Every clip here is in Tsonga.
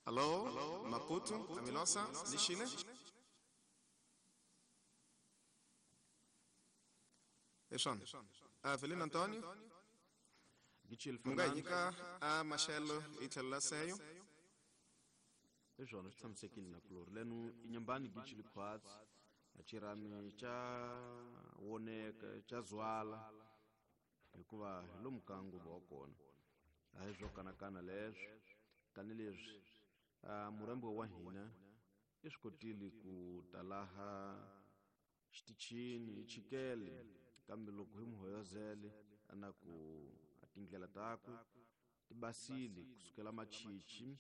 Allo, Maputo, Amilosa, Lixile? Hi swona. Avelino Antonio, Gichil mi nga hi Fernando nyika a maxelo hi tlhelo la seyo? Hi swona, swi tshamisekile na kulori leno inyambani gichili khwatsi a xirhami xa woneka xa zwala hikuva hi lomu ka nguva wa kona a hi swo kanakana leswo tanihileswi murhambiwa wa hina i swi kotile ku ta laha xitichini hi chikele, kambe loko hi mu hoyozele a na ku a tindlela takwe ti basile kusukela machichi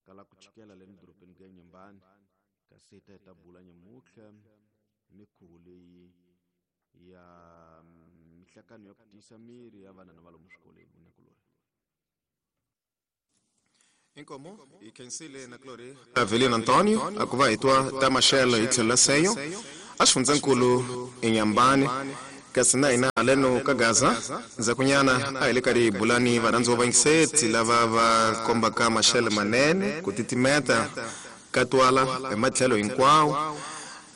kala ku chikela leni dorobeni ku ya Nyambani, kasi hi ta hi ta bula nyamutlha hi mikhuvo leyi ya mihlakano ya ku tiyisa miri ya vana na va lomu swikolweni nakulori. Inkomo hi khensile na kulori Avelino Antonio a ku va hi twa ta maxelo hi tlhelo la seyo a xifundzankulu eNyambani, kasi na hina haleno ka Gaza ndzhakunyana a hi le karhi hi bulani varhandziwa vayingiseti lava va kombaka maxelo manene, ku titimeta ka twala hi matlhelo hinkwawo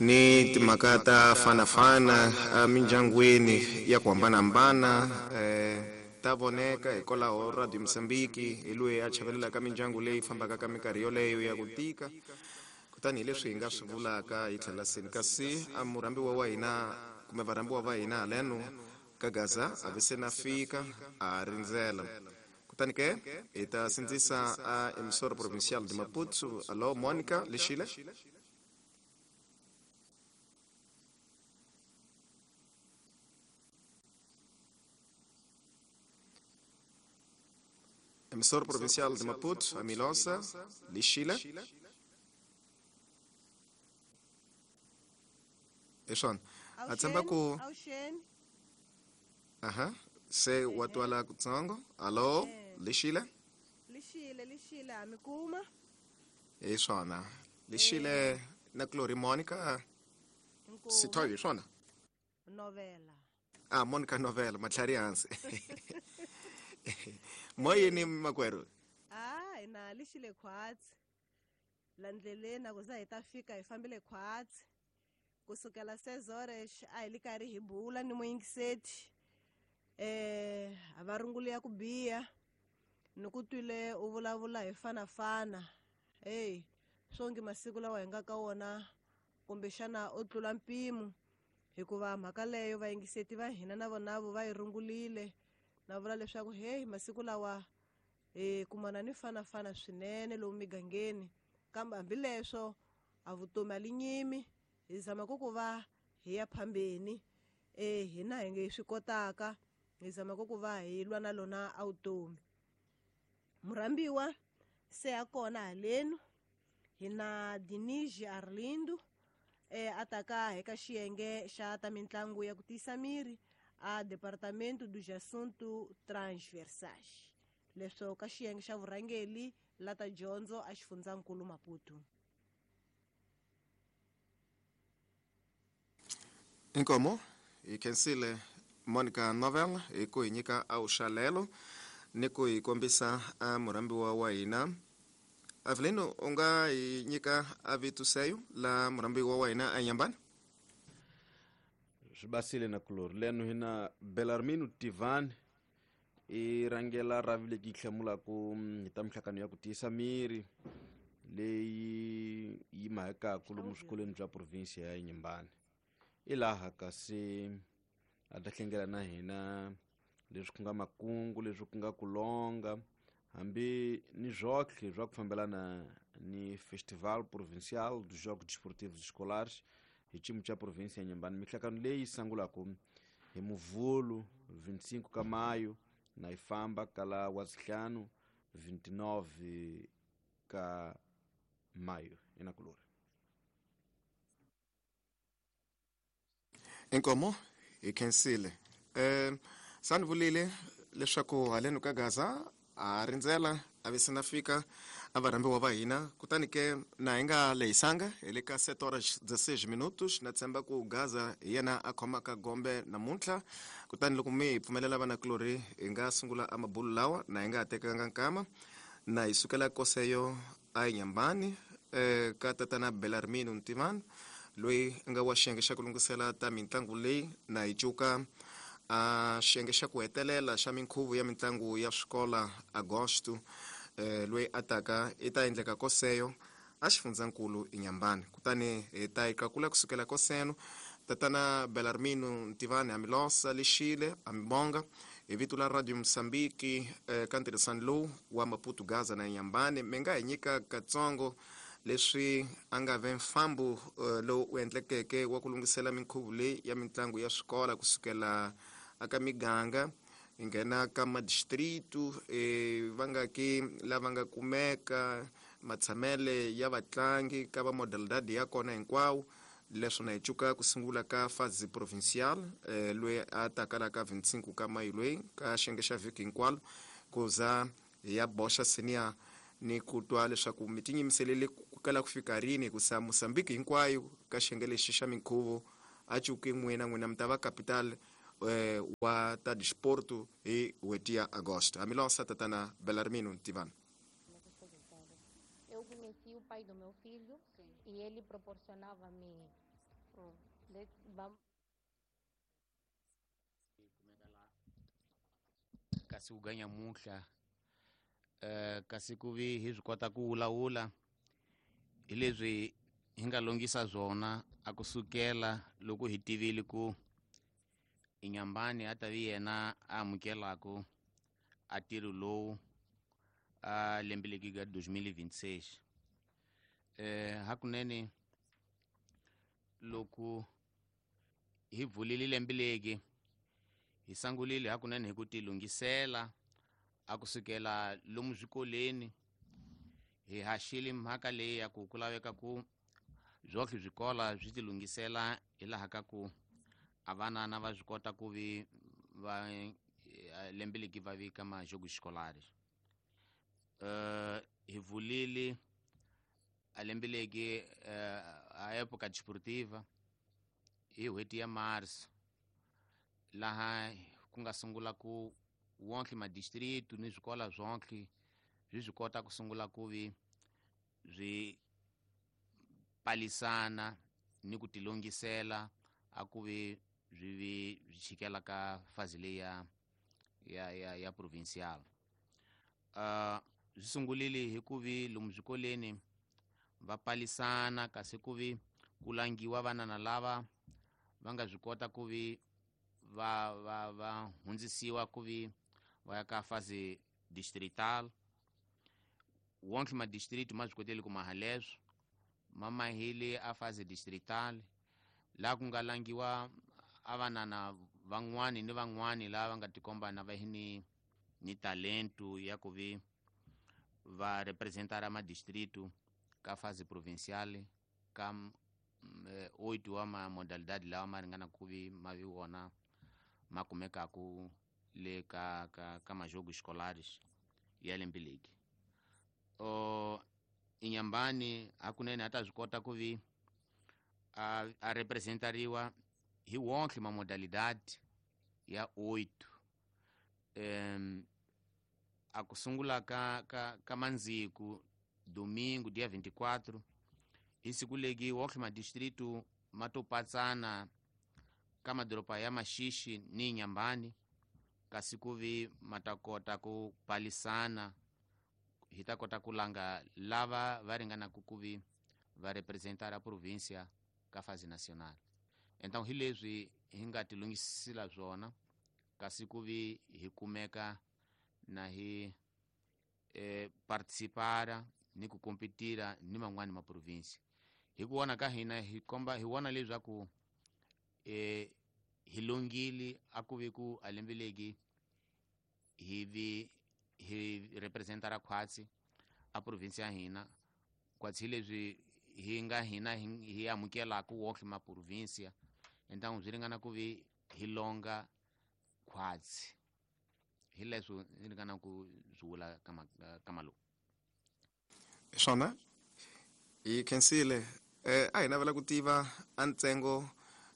ni timhaka ta fanafana emindyangwini ya ku hambanahambana ta voneka. Hikwalaho Radio Mozambique hi loyi a chavelelaka mindyangu leyi fambaka ka minkarhi yoleyo ya ku tika, kutani hi leswi hi nga swi vulaka hi tlhela seni, kasi a murhambiwa wa hina kumbe varhambiwa va hina haleno ka Gaza a ve se na fika a rindzela, kutani ke hi ta sindzisa a emissora provincial de Maputo. Allo, Monica Lexile? Emissora provincial de Maputo, a Milosa, Lixile? Hi swona, a tshemba ku Awuxeni. Aha, se wa twala kutsongo. Allo, Lixile? Lixile, lixile, ha mi kuma. Hi swona, Lixile na Glory Monica. Inkomu. Sithoyo, hi swona? Novela. Ah, Monica Novela, matlhari hansi moyeni makwerhu. Ah, hina lixile khwatsi la ndleleni, a ku za hi ta fika hi fambile khwatsi kusukela sezores a hi li karhi hi bula ni muyingiseti a va rungulu ya ku biha ni ku twile u vulavula hi fanafana. Hey, swongi masiku lawa hi nga ka wona kumbexana u tlula mpimo, hikuva mhaka leyo vayingiseti va hina na vonavo va yi rungulile na vula leswaku hey, masiku lawa hi kumana ni fanafana swinene lomu migangeni, kambe hambileswo a vutomi a li nyimi, hi zama ku va hi ya phambeni hina hi nge swi kotaka, hi zama ku va hi lwa na lona a vutomi. Murhambiwa se a kona halenu, hi na Dinigi Arlindo a taka eka xiyenge xa ta mitlangu ya ku tiyisa miri a Departamento dos Assuntos Transversais, leswo ka xiyenge xa vurhangeli la ta dyondzo a xifundzankulu Maputo. Inkomo, hi khensile Monica Novel hi ku hi nyika awuxalelo ni ku hi kombisa a murhambiwa wa hina. Avelino, u nga hi nyika a vito seyo la murhambiwa wa hina a Nyambani? Swi basile na kulori leno hina Belarmino Tivani, i rhangela ravi leki yi hlamulaku hi ta mihlakano ya ku tiyisa miri leyi yi mahekaku lomu swikolweni bya provinsia ya Inhambane. I laha kasi a ta hlengela na hina leswi ku nga makungu, leswi ku nga ku longa hambi ni zwotlhe swa ku fambelana ni Festival Provincial dos Jogos Desportivos Escolares hi xiyimo xa provinsia ya Inhambane, mihlakano leyi sungulaka hi Muvhulu 25 ka mayo na yi famba kala wa sihlanu 29 ka mayo inakulori. Inkomo, hi khensile. Sani vulile leswaku haleno ka Gaza a rindzela a ve se na fika a varhambiwa va hina, kutani ke na hi nga lehisanga hi le ka 7 horas 16 minutos. Na tshemba ku Gaza hi yena a khomaka gombe namuntlha, kutani loko mi hi pfumelela vanakulorhi hi nga sungula a mabulu lawa na hi nga ha tekanga nkama. Na hi sukela koseyo a Inhambane ka tatana Belarmino Ntimani loyi a nga wa xiyenge xa ku lunghisela ta mitlangu leyi. Na hi cuka a xiyenge xa ku hetelela xa minkhuvo ya mitlangu ya swikola Agosto loyi a taka i ta endleka koseyo a xifundzankulu Inhambane. Kutani hi ta yi qakula kusukela koseno. Tatana Belarmino Ntivani, amilosa lexile, amibonga hi vito la Radio Mozambique ka ntirhisano lowu wa Maputo, Gaza na Inhambane. Mi nga hi nyika katsongo leswi a nga ve mfambo lowu u endlekeke wa ku lunghisela minkhuvo leyi ya mitlangu ya swikola kusukela aka miganga hi nghena ka madistritu, va nga ki lava nga kumeka matshamele ya vatlangi ka va modalidade ya kona hinkwawo leswo, na hi cuka ku sungula ka fase provincial loyi a taka la ka 25 ka mayi loyi ka xiyenge xa vhiki hinkwalo, ku za hi ya boxa senior ni ku twa leswaku mi tinyimiselele ku kala ku fika rini, hikusa Mozambique hinkwayo ka xiyenge lexi xa minkhuvo a cuki n'wina, n'wina mi ta va capital wa ta disporto hi n'hweti ya Agosto. Amilosa, tatana Belarmino Ntivana. Eu conheci o pai do meu filho e ele proporcionava-me. Vamos Kasi ku ganya muhla kasi ku vi hi swi kota ku wulawula hi leswi hi nga longisa swona a kusukela loko hi tivile ku Inhambane a ta vi yena a amukelaku a ntirho lowu a lembe leki ka 2026. Hakunene loko hi pfulile lembe leki, hi sangulile hakunene hi ku tilunghisela a kusukela lomu swikoleni. Hi haxile mhaka leyi ya ku ku laveka ku swohle swikola swi tilunghisela hi laha ka ku a vanana va swi kota ku vi va lembe leki va vi ka majogo escolares. Hi vulile a lembe leki a época desportiva hi n'hweti ya marso, laha ku nga sungula ku wonke madistritu ni swikola swonke swi swi kota ku sungula ku vi swi palisana ni ku tilunghisela a ku vi swi vi swi chikela ka fazi leyi ya provincial. Swi sungulile hi ku vi lomu swikoleni va palisana, kasi ku vi ku langiwa vanana lava va nga swi kota ku vi va hundzisiwa ku vi va ya ka fase distrital. Wonke madistrict ma swi kotile ku maha leswo, ma mahile a fase distrital, laha ku nga langiwa a vanana van'wani ni van'wani lava va nga tikomba na va hi ni talento ya ku vi va representara madistrito ka fase provincial ka oito wa ma modalidade lawa ma ringana ku vi ma vi wona ma kumekaku le ka majogo escolares ya lembe leki. Inhambane hakunene a ta swi kota ku vi a representariwa hi wonke ma modalidade ya oito. A ku sungula ka mandziku domingo dia 24, hi siku leki wonke madistritu ma to patsana ka madoroba ya Maxixi ni Inhambane, kasi ku vi ma ta kota ku palisana, hi ta kota ku langa lava va ringanaka ku vi va representara província ka fase nacional. Então hi leswi hi nga tilunghisela swona, kasi ku vi hi kumeka na hi participara ni ku kompetira ni man'wani ma province. Hi ku vona ka hina, hi komba hi vona leswaku hi longile a ku vi ku a lembe leki hi vi hi representara khwatsi a province ya hina, khwatsi hi leswi hi nga hina hi amukelaka wonke ma provincia. Então swi ringana ku vi hi longa khwatsi, hi leswo ni ringana ku swi vula kama lowu. Swona hi khensile. A hi navela ku tiva a ntsengo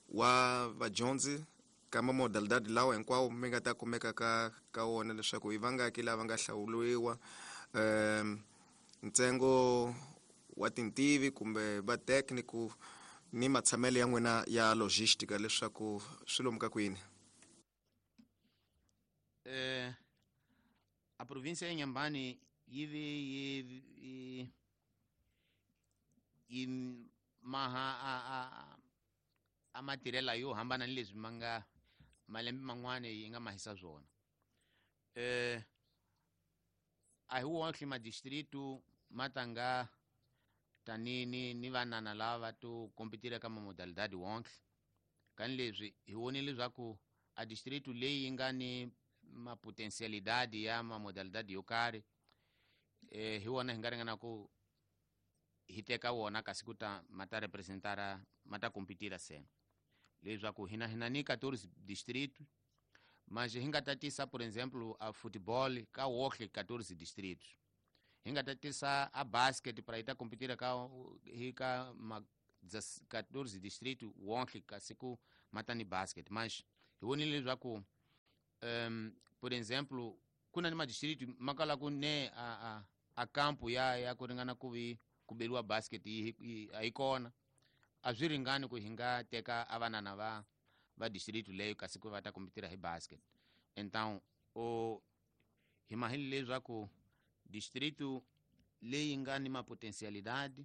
wa vadyondzi ka mamodalidade lawa hinkwawo mi nga ta kumeka ka wona, leswaku hi vangaki lava nga hlawuriwa. Ntsengo wa tintivi kumbe va técnico ni matshamelo ya n'wina ya logistica leswaku swi lomu ka kwini? A província ya Inhambane yi ve yi maha a matirhela yo hambana ni leswi ma nga malembe man'wana yi nga mahisa swona. A hi wonke madistritu ma tanga tani ni vanana lava to kompetira ka mamodalidade wonke. Kani leswi hi vonile leswaku a distritu leyi yi nga ni mapotensialidade ya mamodalidade yo karhi, hi wona hi nga ringana ku hi teka wona kasi ku ta ma ta representara ma ta kompetira sena. Leswaku hina ni 14 distritos, mas hi nga tatisa, por exemplo, a futebol ka wonke 14 distritos. Hi nga tatisa a basket para ita kompetira ka hi ka ma 14 distritos wonke kasi ku mata ni basket. Mas hi vonile leswaku por exemplo, ku na ni madistrito ma kala ku ne a campo ya ku ringana ku vi ku beriwa basket a yi kona. A swi ringani ku hi nga teka a vanana va distrito leyo kasi ku va ta kompetira hi basket. Então o hi mahile leswaku distrito leyi nga ni mapotensialidade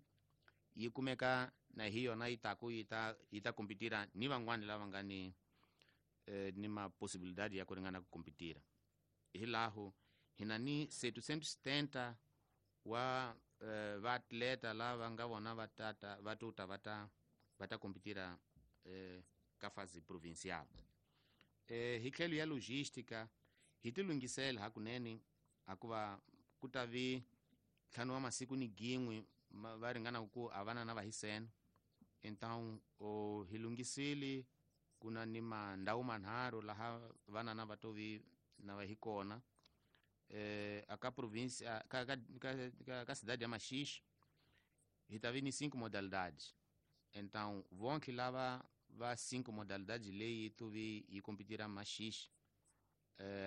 yi kumeka na hi yona yi taku yi ta kompetira ni van'wani lava nga ni maposibilidade ya ku ringana ku kompetira. Hi laho hina ni 770 wa vaatleta lava nga vona va tata va tuta va ta kompetira ka fase provincial. Hi tlhelo ya logística hi ti lunghisela hakunene, hikuva ku ta vi 5 wa masiku ni gin'we va ringana ku a vana na va hisena. Então hi lunghisile ku na ni mandhawu manharhu laha vanana va to vi na va hi kona. A ka província ka cidade ya Maxixe hi ta vi ni 5 modalidades. Então vonke lava va 5 modalidades leyi to vi yi kompetira Maxixe.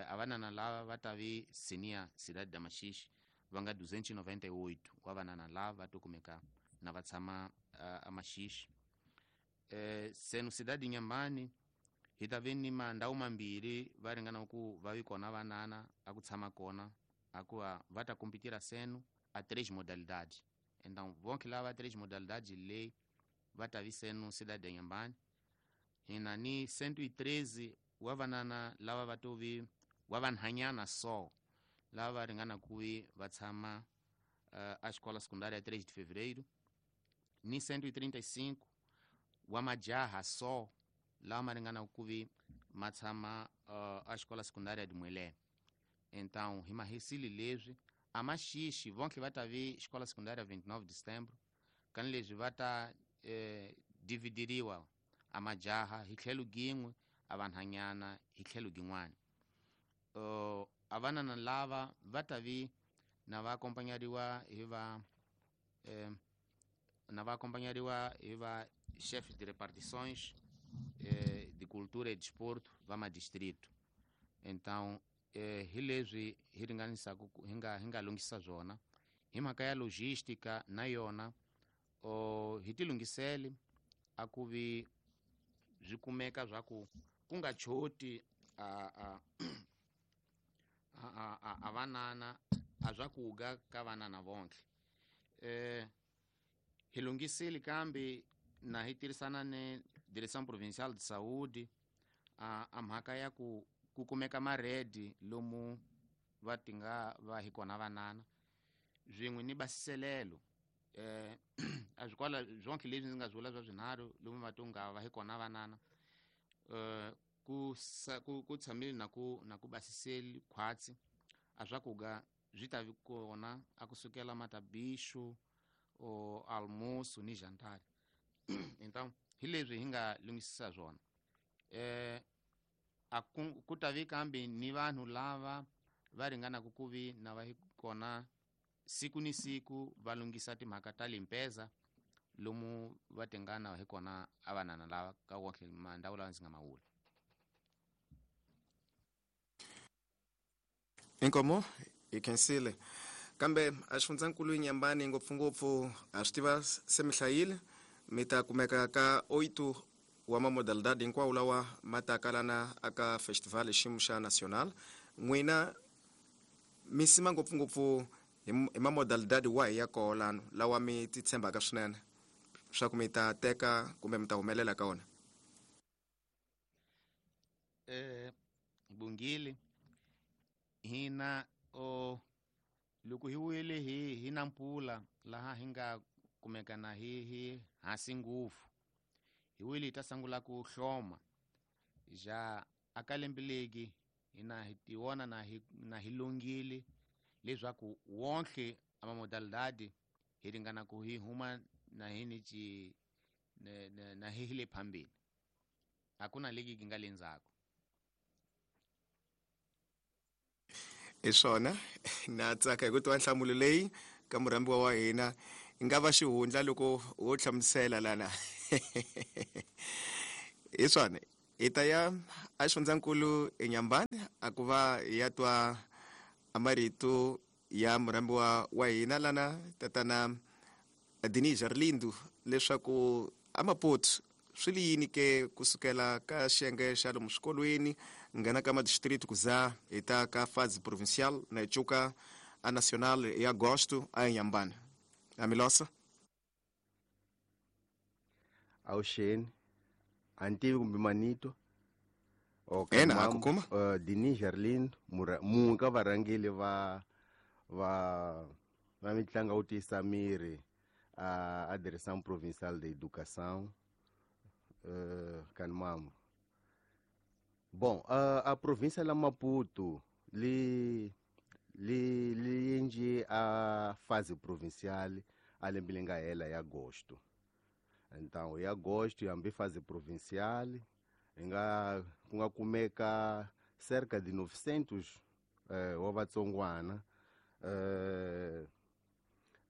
A vanana lava va ta vi senior cidade da Maxixe va nga 298 wa vanana lava va to kumeka na va tshama a Maxixe. Seno cidade Inhambane hi ta vi ni mandhawu mambirhi va ringana ku va vi kona vanana a ku tshama kona, hikuva va ta kompetira seno a 3 modalidades. Então vonke lava 3 modalidades leyi va ta vi seno cidade Inhambane. Hina ni 113 wa vanana lava va to vi wa vanhanyana so lava va ringana ku vi va tshama a escola secundária 3 de fevereiro, ni 135 wa majaha so lava ma ringana ku vi ma tshama a escola secundária de Muelé. Então hi mahisile leswi a Maxixe vonke va ta vi escola secundária 29 de setembro, kani leswi va ta dividiriwa a majaha hi tlhelo gin'we, a vanhanyana hi tlhelo gin'wana. A vanana lava va ta vi na va akompanyariwa hi va na va akompanyariwa hi va chefes de repartições de cultura e desporto va madistrito. Então hi leswi hi ringanisaka hi nga lunghisa swona hi mhaka ya logística na yona. Hi ti lunghisele a ku vi swi kumeka swa ku ku nga choti a vanana a swakuga ka vanana vonke. Hi lunghisile kambe na hi tirhisana ni Direção Provincial de Saúde a mhaka ya ku kumeka maredi lomu va tinga va hi kona vanana swin'we ni basiselelo. A swi kwala swonke leswi ndzi nga swi vula swa swinharhu lomu va to nga va hi kona vanana. Ku tshamile na ku basiseli khwatsi a swakuga swi ta vi kona a kusukela matabixo o almoço ni jantar. Então hi leswi hi nga lunghisisa swona. A ku ta vi kambe ni vanhu lava va ringanaka ku vi na va hi kona siku ni siku va lunghisa timhaka ta limpeza lomu va tingana hi kona a vanana lava ka wonke mandhawu lawa ndzi nga mawula. Inkomo hi khensile. Kambe a xifundzankulu Inhambane ngopfungopfu a swi tiva se mi hlayile mi ta kumeka ka 8 wa mamodalidade hinkwawo lawa ma ta kalana aka festival xiyimo xa national. N'wina mi sima ngopfungopfu hi mamodalidade wahi ya koho lano lawa mi ti tshembaka swinene swa ku mi ta teka kumbe mi ta humelela ka wona? Bungile hina o loko hi wile hi na mpfula laha hi nga kumeka na hi hansi ngopfu hi wile hi ta sungula ku hloma ja aka lembe legi hina hi tiwona na hi lungile leswaku wonke amamodalidade hi ringana ku hi huma na hi ni ci na hi le phambili, hakuna legi ki nga le ndzhaku. Hi swona na tsaka hi ku twa nhlamulo leyi ka murhambiwa wa hina yi nga va xihundla loko wo hlamusela lana. Hi swona hi ta ya a xifundzankulu eNyambani a ku va hi ya twa marito ya murhambiwa wa hina lana tatana Denis Arlindo leswaku a Maputo swi li yini ke kusukela ka xiyenge xa lomu swikolweni nghena ka madistrict ku za hi ta ka fase provincial na hi cuka a national hi agosto a Inhambane. Amilosa awuxeni a ni tivi kumbe manito. Okay, ena a ku kuma Denis Arlindo munhu ka varhangeli va va va mitlangu wo tiyisa miri a Direção Provincial de Educação Kanmambo. Bom, a província la Maputo li li li endle a fase provincial a lembe leri nga hela ya agosto. Então, hi agosto hambi fase provincial hi nga ku nga kumeka cerca de 900 wa vatsongwana.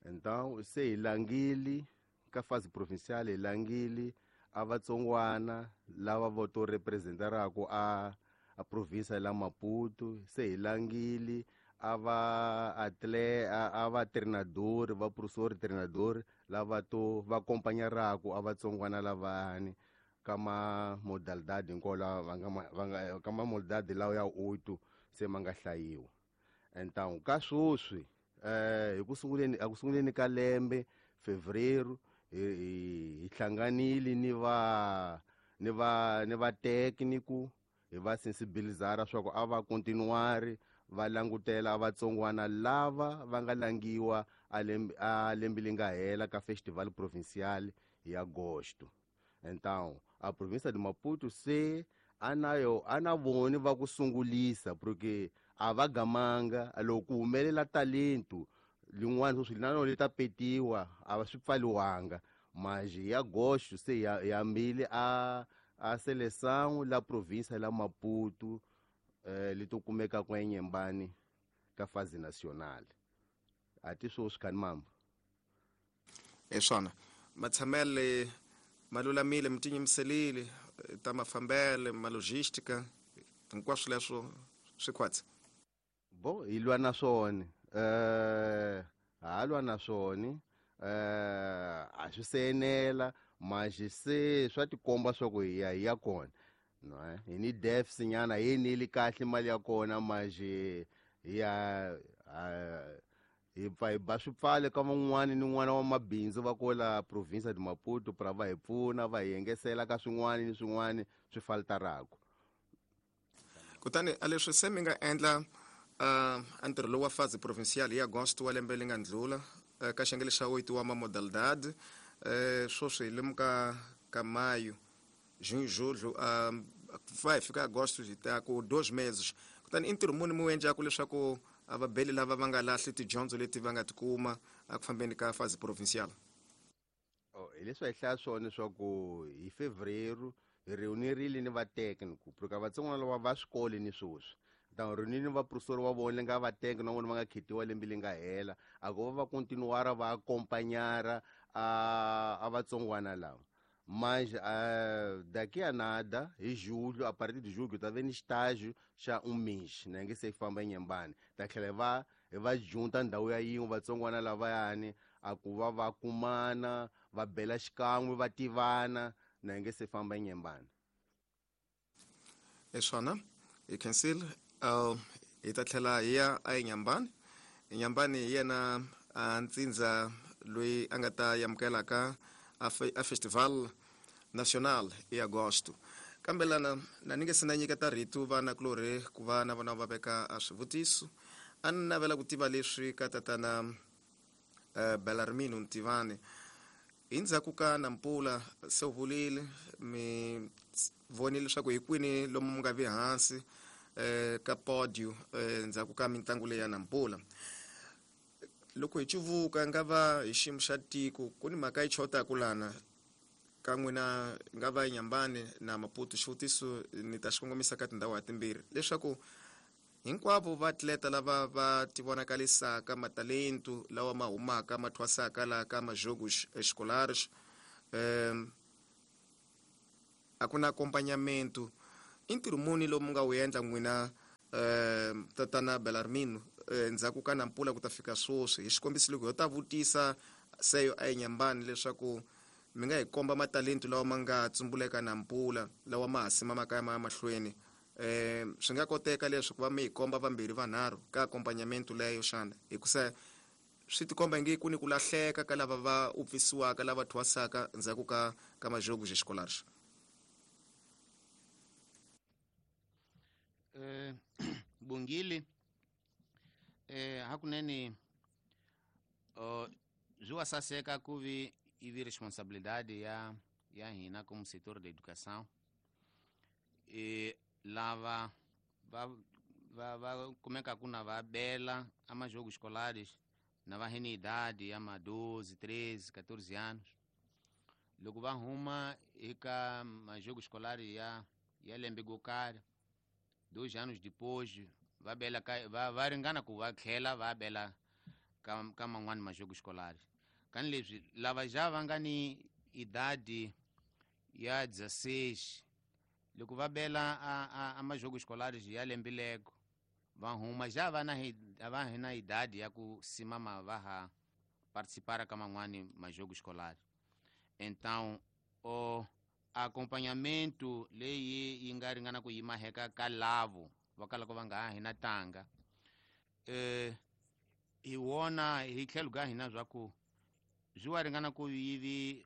Então, se hi langile ka fase provincial hi langile a vatsongwana lava vo to representaraka a província la Maputo, se hi langile a va atle a va treinador va professor treinador lava to va acompanharaka a vatsongwana lavani ka ma modalidade hinkwawo lawa va nga ka ma modalidade lawa ya 8 se ma nga hlayiwa. Então ka sweswi hi ku sunguleni a ku sunguleni ka lembe Fevereiro hi hlanganile ni va ni va ni va técnico hi va sensibilizara swa ku a va continuari va langutela vatsongwana lava va nga langiwa a lembe leri nga hela ka festival provincial hi agosto. Então a província de Maputo se anayo ana voni va ku sungulisa porque a va gamanga loko ku humelela talento lin'wana sweswi na rona li ta petiwa a va swi pfaliwanga mas hi agosto se hi hambile a seleção la província la Maputo li to kumeka kwa Inhambane ka fase nacional. A ti sweswi khani mamba. Hi swona matshamele ma lulamile mi tinyimiselile ta mafambele ma logistica hinkwaswo leswo swi khwatsi. Bo hi lwa na swona ha lwa na swona a swi se enela mas se swa tikomba swa ku hi ya hi ya kona. No, hi ni deficit nyana hi eneli kahle mali ya kona mas hi ya hi pfa hi ba swipfale ka van'wani ni n'wana wa mabindzu va kola província de Maputo pra va hi pfuna va hi engesela ka swin'wani ni swin'wani swi faltaraka. Kutani a leswi se mi nga endla a ntirho lowu wa fase provincial hi agosto wa lembe leri nga ndlula ka xiyenge xa 8 wa mamodalidade sweswi hi lemuka ka mayo junho julho va hi fika agosto hi ta ku 2 meses. Kutani i ntirho muni mi wu endlaku leswaku a vabeli lava va nga lahli tidyondzo leti va nga tikuma eku fambeni ka fase provincial? Hi leswi hi hlaya swona leswaku hi Fevereiro hi reunirile ni va técnico porque vatsongwana lava va swikolo ni sweswi. Então reunile ni va professor wa vona nga va técnico na vona va nga khetiwa lembe leri nga hela a ku va va continuara va acompanhara a vatsongwana lava. Mas daqui a nada, em julho, a partir de julho, tá vendo estágio já um mês, né? Que se famba em Inhambane. Tá que levar hi va junta ndhawu ya yin'we vatsongwana lavayani a ku va va kumana va bela xikan'we va tivana na hi nge se famba enyembani. Eswana hi khensile, hi ta tlhela hi ya a enyambani. Enyambani hi yena a ntsindza loyi a nga ta amukelaka a festival national hi agosto. Kambe lana na ni nge se na nyiketa rito vana kulorhi ku va na vona va veka a swivutiso, a ni navela ku tiva leswi ka tatana Belarmino Ntivani. Hi ndzhaku ka Nampula se u vulile mi vonile leswaku hi kwini lomu mi nga vi hansi ka podio ndzhaku ka mitlangu leyi ya Nampula. Loko hi cuvuka nga va hi xiyimo xa tiko ku ni mhaka yi chotaku lana ka n'wina nga va Nyambani na Maputo. Xivutiso ni ta xi kongomisa ka tindhawu ha timbirhi leswaku hinkwavo vaatleta lava va tivonakalisaka matalentu lawa ma humaka ma thwasaka laha ka majogos escolares, a ku na accompagnamento. I ntirho muni lowu mi nga wu endla n'wina, tatana Belarmino, ndzhaku ka Nampula ku ta fika sweswi? Hi xikombiso, loko ho ta vutisa seyo a eNyambani leswaku mi nga hi komba matalentu lawa ma nga tsumbuleka Nampula lawa ma ha simamaka ya ma ya mahlweni, swi nga koteka leswi ku va mi hi komba vambirhi vanharhu ka accompagnamento leyo xana? Hikusa swi tikomba nge ku ni ku lahleka ka lava va upfisiwaka lava thwasaka ndzhaku ka majogos escolares. Bongile, hakunene swi wa saseka ku vi ivi responsabilidade ya hina como setor da educação lava va kumekaku na va bela a majogos escolares na va hene idade ya ma 12, 13, 14 anos, loko va huma eka majogos escolares ya lembe go karhi, 2 anos depois va bela ka va ringana ku va tlhela va bela ka man'wani majogos escolares. Kani leswi lava ja va nga ni idade ya 16, loko va bela a majogos escolares ya lembe lego va huma ja va na va na idade ya ku simama va ha participar ka man'wani majogos escolares. Então o acompanhamento leyi yi nga ringana ku yima heka ka lavo va kalaka va nga ha hina tanga, hi wona hi tlhelo ka hina swa ku swi wa ringana ku yivi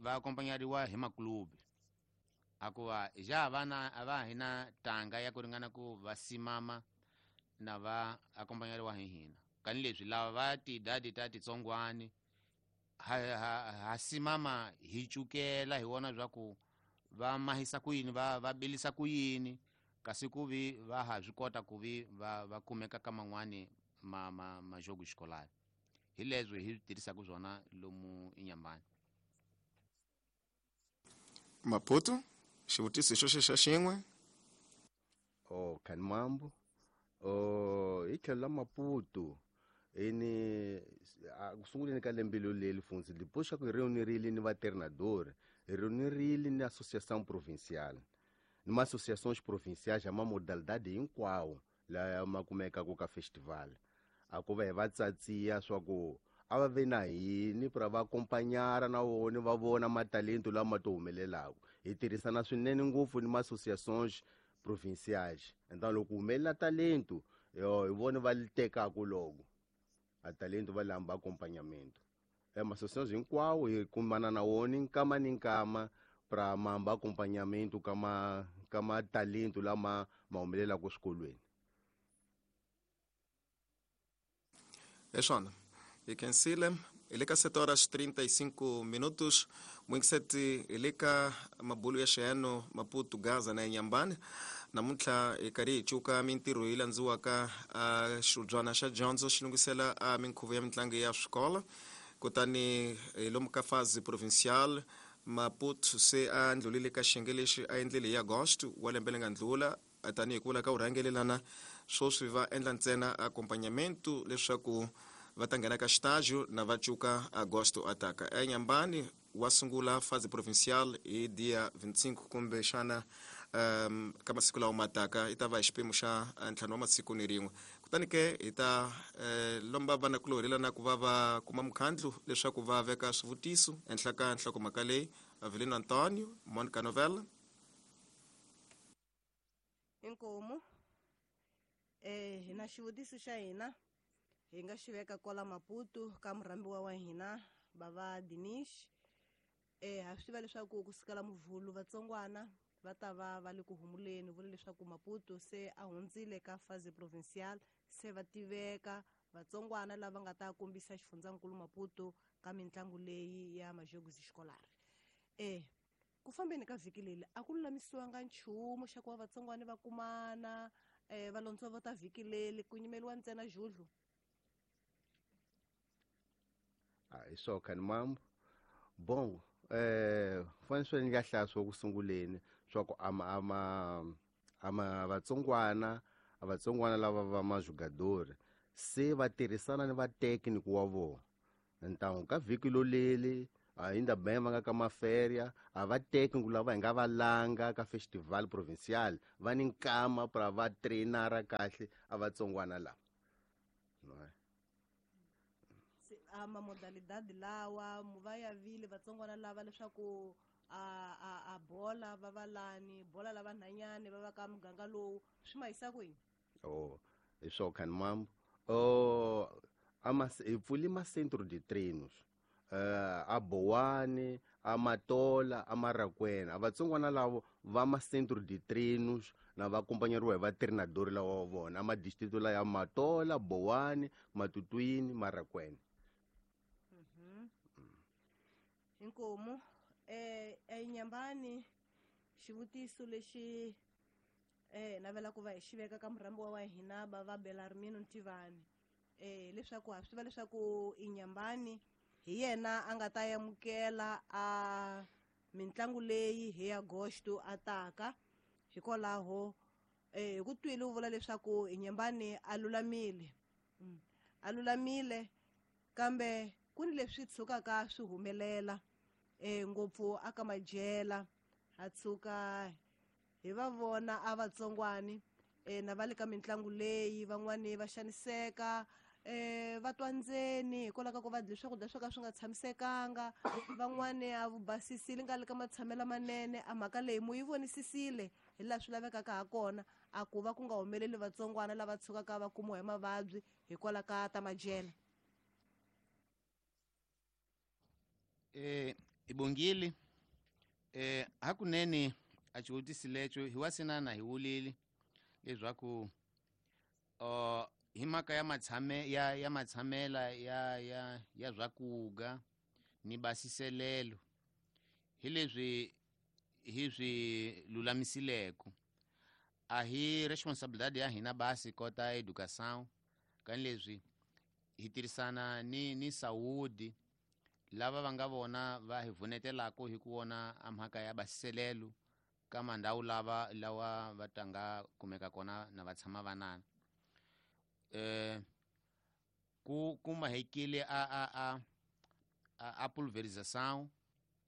va acompanhariwa hi maklubi, akuva ja vana a va hina tanga ya ku ringana ku va simama na va acompanhariwa hi hina. Kani leswi lava va tidadi ta titsongwani ha simama hi cukela hi wona swa ku va mahisa ku yini, va bilisa ku yini, kasi ku vi va ha swi kota ku vi va kumeka ka man'wani majogo escolar. Hi leswi hi tirhisaka swona lomu eNyambani. Maputo, xivutiso xo xa xin'we. Oh, Kanimambo. Hi tlhelo la Maputo ini ku sunguleni ka lembe leli funtsi depois xa ku hi reunirile ni vatreinador, hi reunirile ni associação provincial ni ma-associações provinciais ya ma modalidade hinkwawo laya ma kumekaka ka festival, a ku va hi va tsatsiya swa ku a va ve na hini pra va acompanhara na vona va vona matalento lama to humelelaka. Hi tirhisana swinene ngopfu ni ma-associações provinciais, então loko humelela talento yo hi vona va li tekaku loko a talento va lamba acompanhamento. Ma-associações hinkwawo hi kumana na wona nkama ni nkama pra mamba acompanhamento ka matalento lama ma humelelaka swikolweni. Eswana hi khensile. Hi le ka 7 horas 35 minutos. Mwingiseti, hi le ka mabulu ya xiyano Maputo, Gaza na Nyambani. Namuntlha hi karhi hi cuka mintirho yi landziwaka a xibyana xa dyondzo xi lunghisela a minkhuvo ya mitlangu ya swikolo. Kutani hi lomu ka fazi provincial Maputo se a ndlulile ka xiyenge lexi a endlile hi agosto wa lembe leri nga ndlula. Tanihi ku vula ka vurhangelelana sweswi va endla ntsena accompagnamento leswaku va ta nghena ka xitajo na va cuka agosto ataka. Enyambani wa sungula fazi provincial hi dia 25 kumbe xana ka masiku lawa mataka, i ta va hi xiphemu xa 5 wa masiku ni rin'we. Kutani ke hi ta lomba vanakulorhi lana ku va va kuma mukhandlu leswaku va veka swivutiso ehenhla ka nhlokomhaka leyi. Avelino Antonio, Monica Novella. Inkomu hina xivutiso xa hina hi nga xi veka kwala Maputo ka murhambiwa wa hina bava Dinish. Ha swi tiva leswaku kusukela Muvhulu vatsongwana va ta va va le ku humuleni, vula leswaku Maputo se a hundzile ka phase provincial, se va tiveka vatsongwana lava nga ta kombisa xifundzankulu Maputo ka mitlangu leyi ya Majogos Escolares. Ku fambeni ka vhiki leri a ku lulamisiwanga nchumu xa ku va vatsongwana va kumana va londzovota vhiki leri, ku nyimeriwa ntsena judlu. Hi swo khani mambo. Bon, fanele swi nga hlaya swo ku sunguleni swa ku ama vatsongwana, a vatsongwana lava va majugadori se va tirhisana ni vatekniki wa vona. Ntangu ka vhiki loleli ainda bem va nga ka maferia, a va tekniki lava hi nga va langa ka festival provincial va ni nkama pra va trainara kahle a vatsongwana lava. Se a ma modalidade lawa va ya vile vatsongwana lava leswaku a bola va va lani, bola lava nhanyani va va ka muganga lowu, swi ma yisa kwihi? Oh, hi swo khani mambo. Hi pfuli ma centro de treinos. A Bowane, a Matola, a Marakwena. A vatsongwana lavo va ma centro de treinos na va acompanhariwa hi va treinador lawa wa vona. A ma distrito la ya Matola, Bowane, Matutuini, Marakwena. Inkomu eNyambani xivutiso lexi navela ku va hi xi veka ka murhambiwa wa hina ba va Belarmino Ntivani. Leswaku ha swi tiva leswaku Inyambani hi yena a nga ta amukela a mitlangu leyi hi Agosto a taka. Hikwalaho hi ku twile u vula leswaku Inyambani a lulamile. A lulamile kambe ku ni leswi tshukaka swi humelela ngopfu aka majela, ha tshuka hi va vona a vatsongwani na va le ka mitlangu leyi van'wani va xaniseka va twa ndzeni hikwalaho ka ku va dye swakudya swo ka swi nga tshamisekanga, van'wani a vu basisile nga le ka matshamelo manene. A mhaka leyi mu yi vonisisile hi laha swi lavekaka ha kona, a ku va ku nga humeleli vatsongwana lava tshukaka va kumiwa hi mavabyi hikwalaho ka ta majela. Ibongile hakunene a xivutiso lexo hi wa sinana hi wulile leswaku hi mhaka ya matshame ya matshamela ya ya ya swakuga ni basiselelo hi leswi hi swi lulamisileko. A hi responsabilidade ya hina basi kota educação kan leswi hi tirhisana ni saúde lava va nga vona va hi vunetelako hi ku vona a mhaka ya basiselelo ka mandhawu lava lawa va tanga kumeka kona na va tshama vanana. Ku kuma hekile a pulverização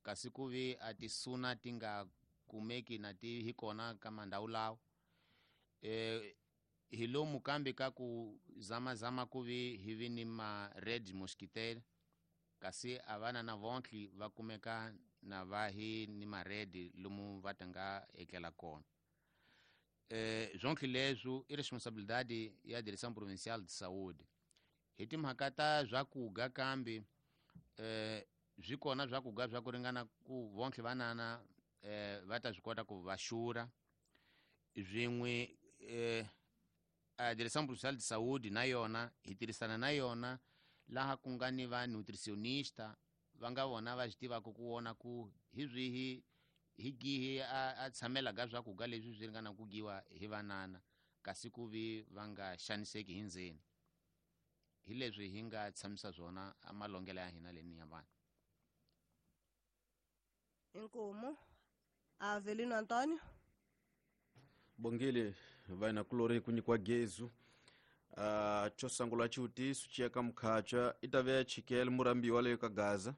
kasi ku vi a tisuna ti nga kumeki na ti hi kona ka mandhawu lawa. Hi lomu kambe ka ku zamazama ku vi hi vi ni ma red mosquitaire kasi a vana na vontli va kumeka na va hi ni ma red lomu va tanga etlela kona. Zwontli leswo i responsabilidade ya Direção Provincial de Saúde. Hi timhaka ta swakuga kambe swi kona swakuga swa ku ringana ku vontli vanana va ta swi kota ku va xurha. Swin'we a Direção Provincial de Saúde na yona hi tirhisana na yona laha ku nga ni va nutricionista va nga vona va swi tivaka ku vona ku hi swihi hi gihi a tshamela ka swakuga leswi swi ringana ku giwa hi vanana kasi ku vi va nga xaniseki hi ndzeni. Hi leswi hi nga tshamisa swona a malongelo ya hina leni ya vanhu. Inkomu Avelino Antonio. Bongile vaina kulori ku nyikiwa gezu. Xo sungula xivutiso xi ya ka Mukhacha i ta ve chikele murambiwa leyo ka Gaza.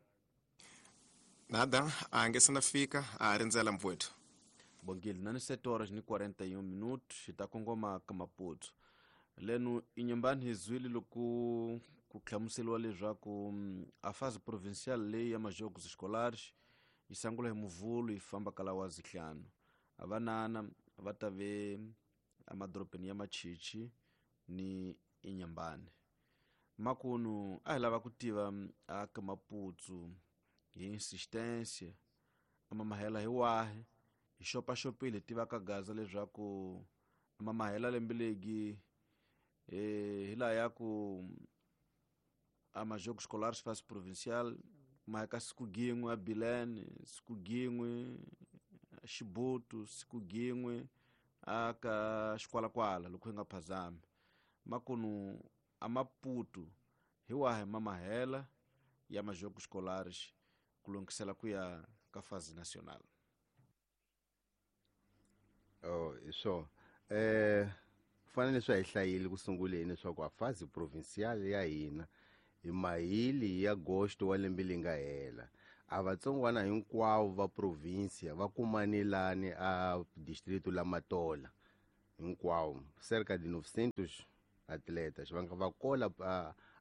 Nada, a nge se na fika a rindzela mpfweto. Bongile na ni 7 horas ni 41 minutos hi ta kongoma ka Maputo. Leno Inhambane hi zwile loko ku hlamuseriwa leswaku a fase provincial leyi ya majogos escolares yi sungula hi Muvhulu yi famba kala wa zihlanu. Avanana va ta ve emadorobeni ya Machichi ni Inhambane. Makunu a hi lava ku tiva a ka Maputo hi insistência amamahela hi wahi hi xopaxopile hi tiva ka Gaza leswaku amamahela lembe legi hi laha ya ku a majogos escolares fase provincial maheka siku gin'we a Bilene, siku gin'we Xibutu, siku gin'we a ka Xikwalakwala loko hi nga phazami. Makunu a Maputo hi wahi mamahela ya majogos escolares ku lungisela ku ya ka fase nacional? Oh, hi swona. Fanele swi hi hlayile ku sunguleni leswaku a fase provincial ya hina hi mahili ya agosto wa lembe leri nga hela. A vatsongwana hinkwavo va provincia va kumanelani a distrito la Matola hinkwavo, cerca de 900 atletas va nga va kola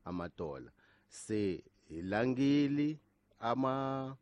a Matola. Se hi langile ama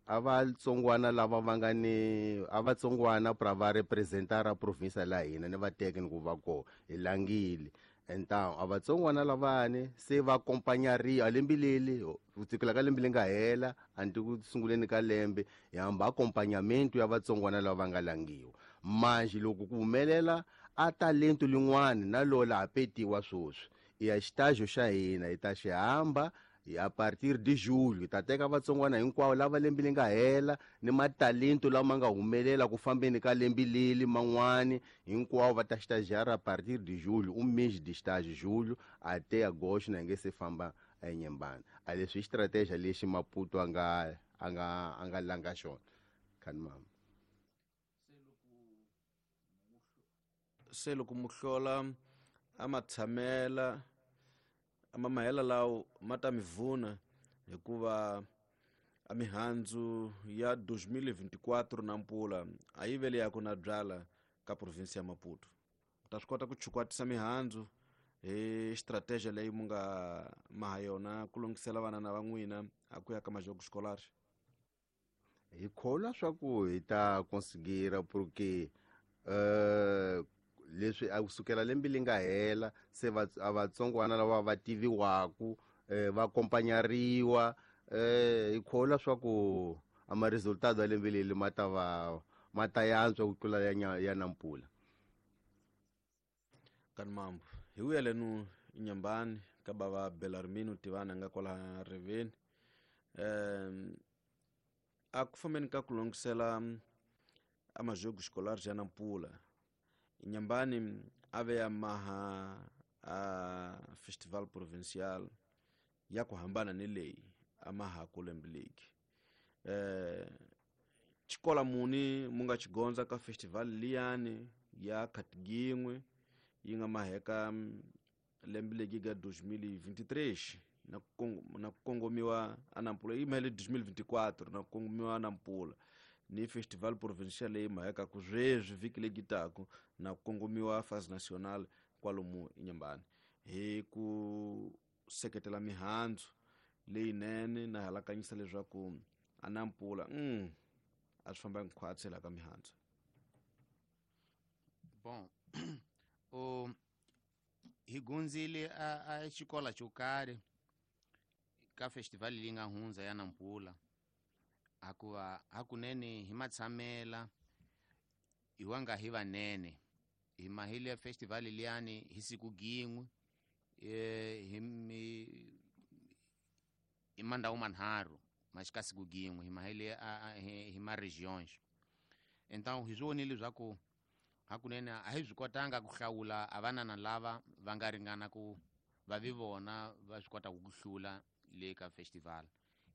a vatsongwana lava va nga ni a vatsongwana pra va representar a province la hina ni va teke ni ku va kona hi langile. Então a vatsongwana lavani se va acompanhariwa lembe leli ku sukela ka lembe leri nga hela anti ku sunguleni ka lembe hi hamba acompanhamento ya vatsongwana lava va nga langiwa. Manje loko ku humelela a talento lin'wana na lola ha petiwa sweswi i ya xitajo xa hina hi ta xi hamba a partir de julho hi ta teka vatsongwana hinkwavo lava lembe leri nga hela ni matalento lama nga humelela ku fambeni ka lembe leli man'wani hinkwavo va ta estagiar a partir de julho, um mês de estágio, julho até agosto, na nge se famba eNyembane. A leswi i stratégia lexi Maputo a nga langa xona. Khani mama. Se loko muhlola a ma tshamela a mamahela lawo ma ta mi vuna hikuva a mihandzu ya 2024 na mpula a yi vele ya ku na byala ka province ya Maputo. U ta swi kota ku chukwatisa mihandzu hi strategy leyi mu nga maha yona ku lunghisela vana va n'wina a ku ya ka majogos escolares? Hi kholwa swa ku hi ta conseguir porque leswi a kusukela lembe leri nga hela se a vatsongwana lava va tiviwaku va acompanhariwa hi kholwa swa ku a ma resultado ya lembe leri ma ta va ma ta yantswa ku tlula ya nampula. Kani mambo hi vuya lenu Inhambane ka bava Belarmino Tivana nga kwala riveni. A ku fambeni ka ku lunghisela a majogos escolares ya nampula, Inhambane a ve ya maha a festival provincial ya ku hambana ni leyi a mahaku lembe legi. Xikola muni mu nga xigondza ka festival liyani ya Khatgin'we yi nga maheka lembe legi ga 2023 na ku kongomiwa a Nampula, yi mahele 2024 na ku kongomiwa a Nampula ni festival provincial leyi mahekaku sweswi vhiki legi taku na ku kongomiwa fase nacional kwalomu Inhambane hi ku seketela mihandzu leyinene na halakanyisa leswaku a Nampula a swi famba nkhwatsi la ka mihandzu. Bon, o hi gunzile a xikola xo karhi ka festival leyi nga hundza ya Nampula, hakuva hakunene hi matshamela hi wa nga hi vanene hi mahile ya festival liyani hi siku gin'we hi mandhawu manharhu ma xika siku gin'we hi mahile hi ma regions. Então hi swi vonile leswaku hakunene a hi swi kotanga ku hlawula a vanana lava va nga ringana ku va vi vona va swi kotaka ku hlula le ka festival.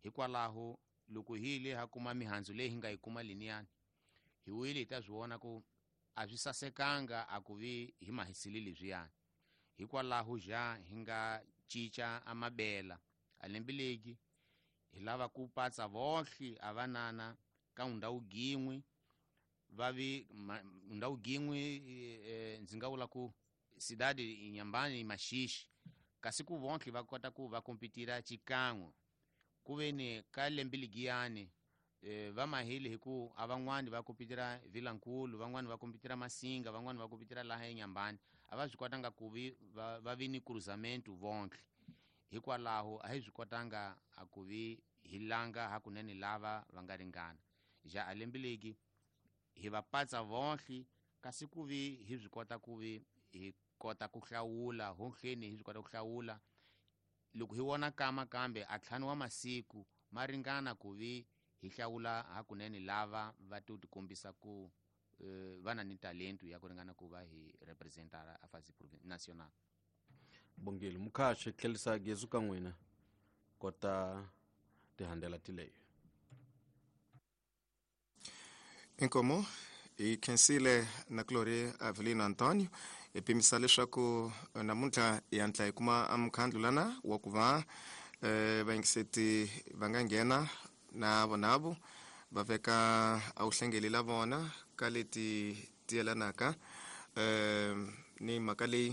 Hikwalaho loko hi le ha kuma mihandzu leyi hi nga yi kuma liniyani hi wile hi ta swi vona ku a swi sasekanga a ku vi hi mahisile leswiyani. Hikwalaho ja hi nga cinca a mabela a lembe legi hi lava ku patsa vohle a vanana ka ndhawu gin'we va vi ndhawu gin'we ndzi nga vula ku cidade Inhambane e Maxixe, kasi ku vonke va kota ku va kompetira xikan'we ku ve ni ka lembe ligiyani va mahile hi ku a van'wani va kompetira Vilankulu, van'wani va kompetira Masinga, van'wani va kompetira laha eNyambani, a va swi kotanga ku vi va vi ni cruzamento vonke. Hikwalaho a hi swi kotanga a ku vi hi langa hakunene lava va nga ringana. Ja a lembe legi hi va patsa vonke, kasi ku vi hi swi kota ku vi hi kota ku hlawula honhleni, hi swi kota ku hlawula loko hi vona kama kambe a ntlhanu wa masiku ma ringana ku vi hi hlawula hakunene lava va to tikombisa ku va na ni talento ya ku ringana ku va hi representara a fasi national. Bongile mukhaxi tlhelisa gezu ka n'wina kota tihandela tileyo. Inkomo hi khensile na Glory Avelino Antonio hi pimisa leswaku namuntlha hi hatla hi kuma mukhandlu lana wa ku va vayingiseti va nga nghena na vonavo va veka a wu hlengeli la vona ka leti ti yelanaka ni mhaka leyi.